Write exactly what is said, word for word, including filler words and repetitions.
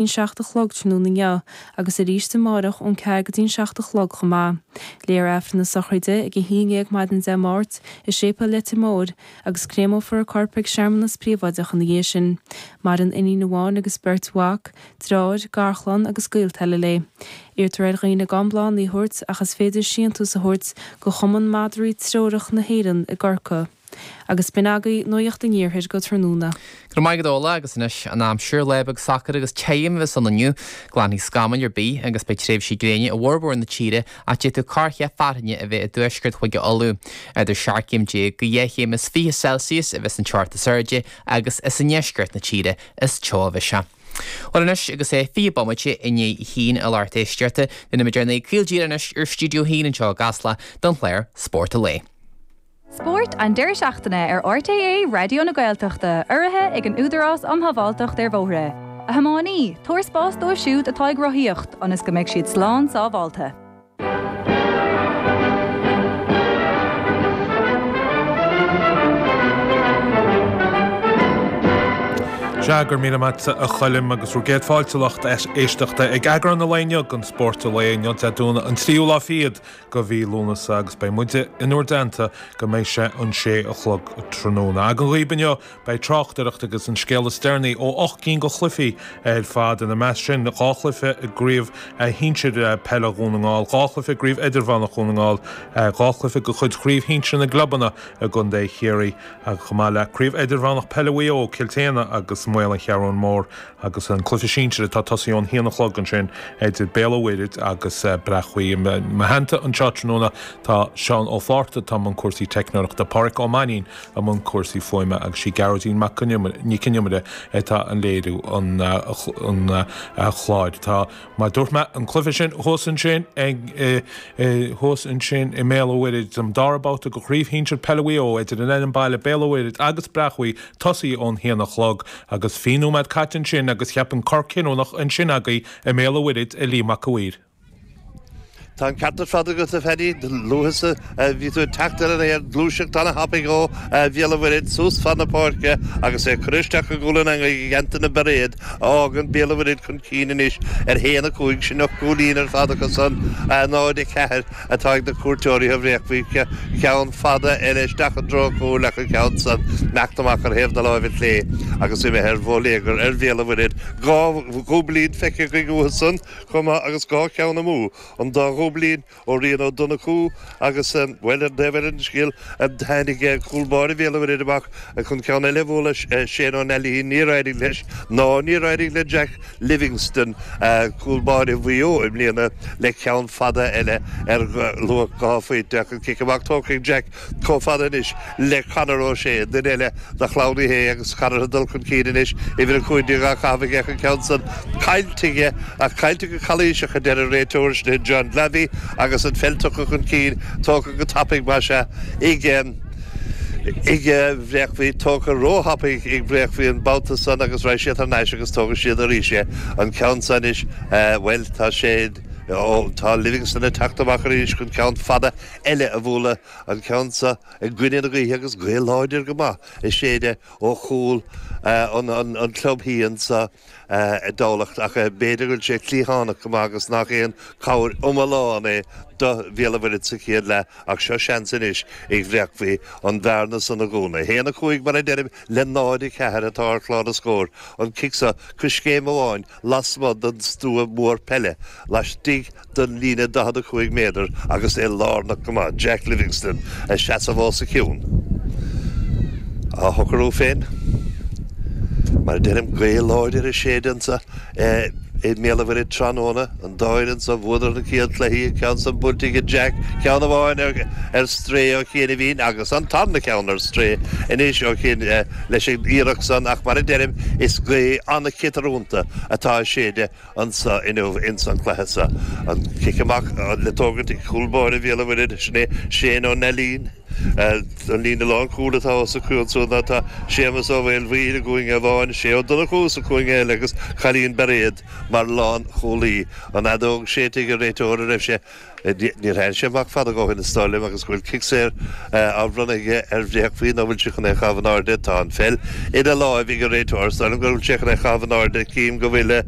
an seacht a chlog tráthnóna inniu agus arís amárach ón ceathair go dtí an seacht a chlog chomh maith. Léifear Aifreann na sochraide ag a haon déag maidin Dé Máirt i Séipéal Leitir Móir agus créamófar a corp ag searmanas príobháideach ina dhiaidh sin. Maireann iníon amháin agus beirt mhac, deartháir, garchlann agus gaolta eile léi. Iarrtar ar dhaoine gan bláthanna a thabhairt ach is féidir síntiús a thabhairt go Chumann Madraí Treorach na hÉireann i gCorcaigh. Agus b'in agaibh Nuacht an Iarthair go tráthnóna. Go raibh maith agat Orla agus anois an aimsir, lá beag socair agus tirim a bheas ann inniu. Glanfaidh scamaill ar bith agus beidh tréimhsí gréine i bhformhór na tíre ach d'fhéadfadh corrcheath fearthainne a bheith i dtuaisceart Chúige Uladh. Idir seacht gcéim déag go dheich chéim is fiche Celsius a bheas an teocht is airde agus is i ndeisceart na tíre is teo a bheas sé. Bhuel anois agus é fiche bomaite i ndiaidh a haon a lucht éisteachta, déanfaimid ár n-aghaidh caol díreach anois ar Stiúideo a haon anseo i gCasla don chlár Spórt an Lae. Spórt an deireadh seachtaine ar RTÉ Raidió na Gaeltachta, urraithe ag an Údarás um Shábháilteacht ar Bhóithre. A thiománaí, tabhair spás dóibh siúd atá ag rothaíocht, ionas go mbeidh siad slán sábháilte. Sea, go raibh míle maith a Choilm agus bhur gcéad fáilte lucht éisteachta ag eagrán an lae inniu den Spórt an Lae inniu Dé Domhnaigh an tríú lá fichead de mhí Lúnasa agus beidh muide in bhur dteannta go mbeidh sé an sé a chlog tráthnóna. Againn dhaoib inniu beidh tráchtaireacht agus an scéal is deireanaí ó ocht gcinn de chluichí ar fad, ina measc sin dhá chluiche i gCraobh Shinsir Peile Dhún na nGall, dhá chluiche i gCraobh Idirmheánach Dhún na nGall, dhá chluiche de chuid Chraobh Shinsir na gClubanna i gContae Chiarraí, chomh maith le Craobh Idirmheánach Peile Mhaigh Eo, Cill tSéadhna agus Maol an Cheathrún Mór agus an cluiche sinsir atá tosaithe ón haon a chlog ansin idir Béal an Mhuirthead agus Breac Buí. I mo theannta anseo tráthnóna tá Seán Ó Fátharta atá i mbun cúrsaí teicneoireachta, Páraic Ó Mainnín i mbun cúrsaí fuaime agus sí Gearóidín Mac Nic Con Iomaire atá ag léiriú an chláir. Tá, mar a dúirt mé, an cluiche sin thuas ansin ag thuas ansin i mBéal an Mhuirthead, an dara babhta de Chraobh Shinsir Peile Mhaigh Eo idir an fhoireann baile Béal an Mhuirthead agus Breac Buí tosaithe ón haon a chlog agus fiche nóiméad caite ansin agus cheapfainn cor cinniúnach ansin agaibh i mBéal an Mhuirthead a Liam Mac a' Mhaoir. Tá an ceart ar fad agat, a Phaddy. Luaithe is a bhí tú ag teacht ar an aer, gluaiseacht ana-thapaidh ó Bhéal an Mhuirthead suas fad na páirce agus é curtha isteach i gcúl an eangaigh ag Antaine Bairéad a fhágann Béal an Mhuirthead chun cinn anois ar haon a cúig. Sin ocht gcúilín ar fad acu san, náid a ceathair atá ag na cuairteoirí ó Bhréachmhaigh. Ceann fada eile isteach i dtreo an chúil ach an ceann san imeacht amach ar thaobh na láimhe clé agus imithe ar bhóiléagar ar Bhéal an Mhuirthead. Dhá dhúiblín feicthe againn uathu san chomh maith agus dhá cheann amú, an dá dhúiblín ó Rian Ó Donnchú agus, bhuel, ar an dtaobh eile den scéal, tháinig cúl báire Bhéal an Mhuirthead amach chun ceann eile a bhualadh, Shane Ó Neilín, níor éirigh leis ná níor éirigh le Jack Livingstone, cúl báire Mhaigh Eo i mbliana, le ceann fada eile ar luach dhá phointe ach an cic amach tógtha ag Jack chomh fada anois le Conor O'Shea, duine eile de chlann Uí Shé agus Conor ag dul chun cinn anois, uimhir a cúig déag á chaitheamh aige ach an ceann san caillte aige ach caillte go calaoiseach a deir an réiteoir, sin é John Glavey agus an pheil tugtha chun cinn, tógtha go tapaidh más ea ag. ag Bréachmhaigh, tógtha róthapaidh ag Bréachmhaigh an babhta san agus raghaidh siad thar n-ais agus tógfaidh siad arís é. An ceann san anois, bhuel, tá sé, tá Livingstone ag teacht amach arís chun ceann fada eile a bhualadh, an ceann seo i gcoinne na gaoithe agus gaoth láidir go maith ag séideadh ó chúl an chlub thí anso i dTamhlacht ach b'fhéidir go bhfuil sé cliathánach go maith agus nach aon chabhair iomlán é do Bhéal an Mhuirthead sa chéad leath ach seo seans anois ag Bhréachmhaigh an bhearna san a dhúnadh. A haon a cúig mar a deirim le náid a ceathair atá ar chlár na scór. An cic seo coiscéim amháin lasmuigh den stua mór peile laistigh den líne daichead a cúig méadar agus é lárnach go maith, Jack Livingstone ag seasamh os a chionn. Á shocrú féin, mar a deirim, gaoth láidir ag séideadh anso i mBéal an Mhuirthead tráthnóna. An dá fhoireann so, bhuadar na chéad chluichí, an ceann san buailte ag Jack, ceann amháin ar strae ó chianaibhín agus an tarna ceann ar strae anois ó chian leis an iarracht san ach mar a deirim, is gaoth an-chiotarúnta atá ag séideadh anso inniu ins an chluiche so. An cic amach le tógaint ag cúl báire Bhéal an Mhuirthead, sin é Shane Ó Neilín. An líne lánchúil atá os a chionn ansan ná tá Séamus Ó Maolmhaoil i gcúinne amháin, Shea Ó Donnchú sa chúinne eile agus Cailín Bairéad mar lánchúlaí. An fheadóg séidte ag an réiteoir a raibh sé Níor tháinig sé amach fada ó shin is dóigh liom agus go bhfuil cic saor á bhronnadh aige ar Bhréachmhaigh nó bhfuil sé chun é a chaitheamh in airde. Tá an pheil ina láimh ag an réiteoir. Is dóigh liom go bhfuil sé chun é a chaitheamh in airde. Cím go bhfuil